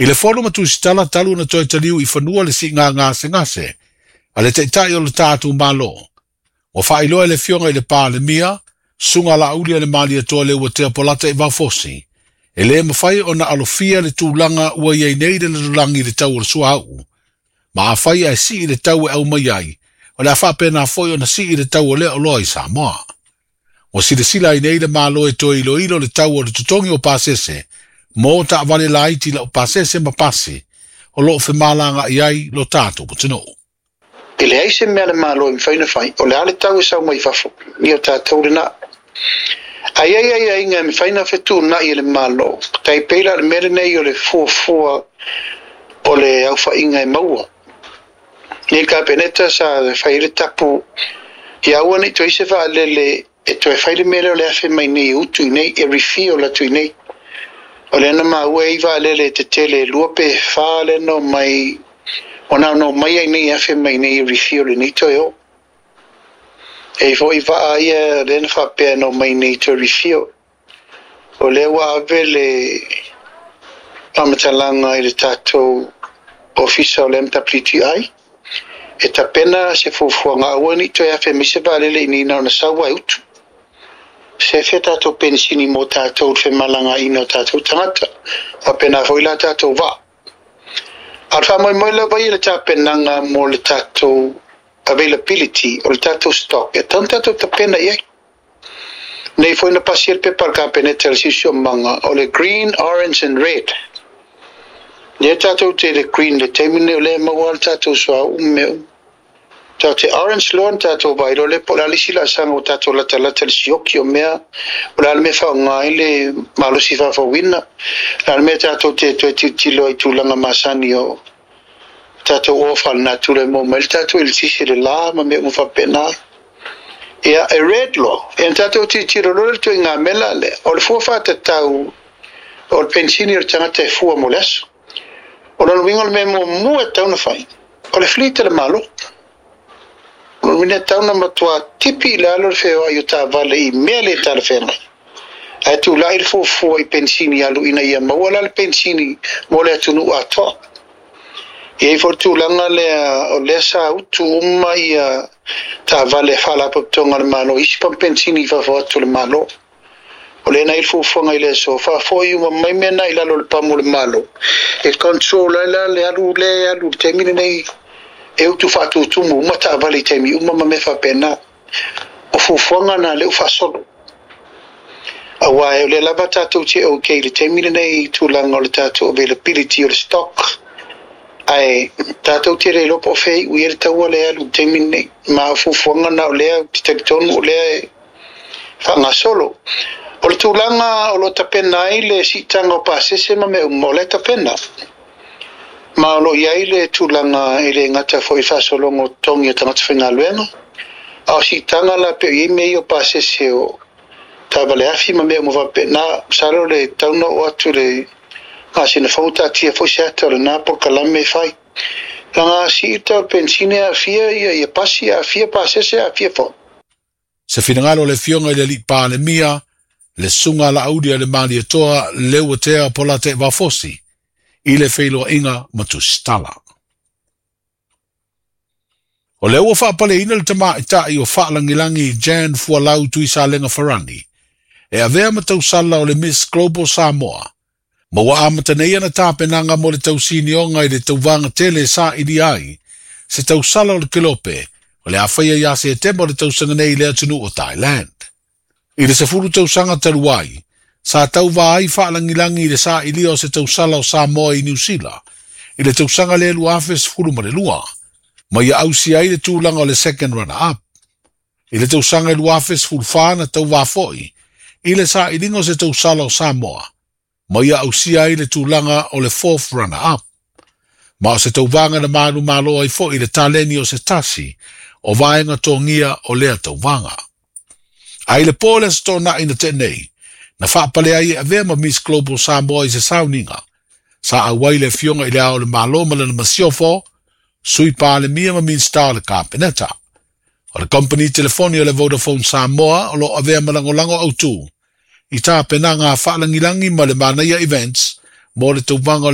I le fono ma Tusitala talu ona toe taliu i fanua le siiga gasegase a le Taitai o le tatou Malo, ua faailoa e le Afioga i le Palemia, Susuga Laaulialemalietoa Leuatea Polataivao Fosi, e le mafai ona alofia le tulaga ua i ai nei le lalolagi i le tau o le suauu, ma afai ae sii le tau e aumai ai, o le a faapena foi ona sii le tau o lea oloa i Samoa. Ua silasila ai nei le Malo e toe iloilo le tau o le totogi o pasese mo taavale laiti laupasese ma pasi o lo o femalagaai ai lo tatou atunuu. E leai se mea a le Malo e mafai ona fai, o le a le tau e sau mai fafo, ia o tatou lena. Ae i ai aiaiga e mafai ona fetuunai e le Malo, tai pei la o le mea lenei o le fuafua o le aofaiga e maua. Nei le Kapeneta sa fai ai le tapu ia aua ne i toe i se vaalele e toe fai le mea lea o le afe mai nei e utu i nei, e refill atu i nei. O lea na maua e i vaalele tetele e 2 pe 4 lea na omai, ua na ona omai ai nei e afe mai nei e refill i nei toe o. E i foi vaa ia lea na faapea na omai nei toe refill. O lea ua ave le faamatalaga i le tatou ofisa o le MWTI e tapena se fuafuaga aua ne i toe afe mai se vaalele i nei na ona sau lava e utu. Sefe tatou penisini mo tatou i le femalagaina o tatou tagata. Faapena foi la tatou vaa. A o le faamoemoe lava ia i le tapenaga mo le tatou availability o le tatou stock e tatau ona tatou tapena i ai. Nei foi na pasia le pepa a le Kapeneta i le siosiomaga o le green, orange and red. Lea tatou te i le green i le taimi lenei o lea e maua lava le tatou suauu ma mea uma. Tatou te orange loa ona tatou vaai loa lea po o le a le isi laasaga ua tatou latalata i le sioki o mea, o le a le mea e faaaoga ai le malosi faafouina, o le a le mea tatou te toe tilotilo ai i tulaga masani o tatou oa faalenatura e maua mai ai le tatou eletise i le la ma mea uma faapena. Ia, e red loa, ia ona tatou tilotilo loa lea i le ituaiga mela lea, o le fua faatatau o le penisini o le tagata e fua mo le aso. O lona uiga o le mea muamua e tatau ona fai, o le fleet a le Malo. O lona uiga e tatau ona matua tipi i lalo le feoai o taavale i mea le talafeagai. Ae tulai le fuafua i penisini alu ina ia maua la le penisini mo le atunuu atoa. E i ai foi le tulaga lea o lea sa utu uma ia taavale a Faalapotopotoga a le Malo i isi pamu penisini i fafo atu o le Malo. O lea na i ai le fuafuaga i le aso, faafoi uma mai mea na i lalo o le pamu o le Malo, e control ai la le alu lea e alu i le taimi lenei e utu faatutumu uma taavale i taimi uma ma mea faapena. O fuafuaga na lea ua faasolo. Aua o lea lava tatou te ok i le taimi lenei i tulaga o le tatou availability o le stock, ae tatou te le iloa po o fea e iu i ai le taua lea e alu i le taimi lenei. Ma o fuafuaga na o lea ou te talitonu o lea e faagasolo. O le tulaga o lo o tapena ai le siitaga o pasese ma mea uma, o la e tapena. Ma o lo o i ai le tulaga e le gata foi i le faasologa o totogi o tagata faigaluega, a o siitaga la pei o i ai mea ia o pasese o taavale afi ma mea uma faapena. Masalo le tatau ona oo atu i le masina fou taatia foi se ata o lena polokalame e fai. Leaga a sii le tau o le penisini e aafia ia pasi, aafia pasese, aafia foi. Se finagalo o le Afioga i le Alii Palemia, le Susuga Laaulialemalietoa Leuatea Polataivao Fosi, i le feiloaiga ma Tusitala. O lea ua faapaleina le tamaitai o Faalagilagi Jan Fualau Tuisalega Farani e avea ma tausala o le Miss Global Samoa, ma ua amata nei ana tapenaga mo le tausinioga i le tauvaga tele e sailia ai se tausala o le kelope o le a faia ia Setema o le tausaga nei i le atunuu o Thailand. I le 10 tausaga talu ai, sa tauva ai Faalagilagi i le sailia o se tausala o Samoa i Niu Sila i le tausaga lea 2012, ma ia ausia ai le tulaga o le second runner-up. I le tausaga 2014 na tauva foi i le sailiga o se tausala o Samoa, ma ia ausia ai le tulaga o le fourth runner-up. Ma o se tauvaga na manumalo ai foi le taleni o se tasi o vaega togia o lea tauvaga. Ae i le po o le Aso Toonai na tea nei, na faapale ai e avea ma Miss Global Samoa i se sauniga, sa auai le Afioga i Le Ao o le Malo ma lana masiofo, Sui Palemia ma Minisita o le Kapeneta. O le kompeni telefoni o le Vodafone Samoa o lo o avea ma lagolago autū i tapenaga a Faalagilagi ma le Manaia Events mo le tauvaga o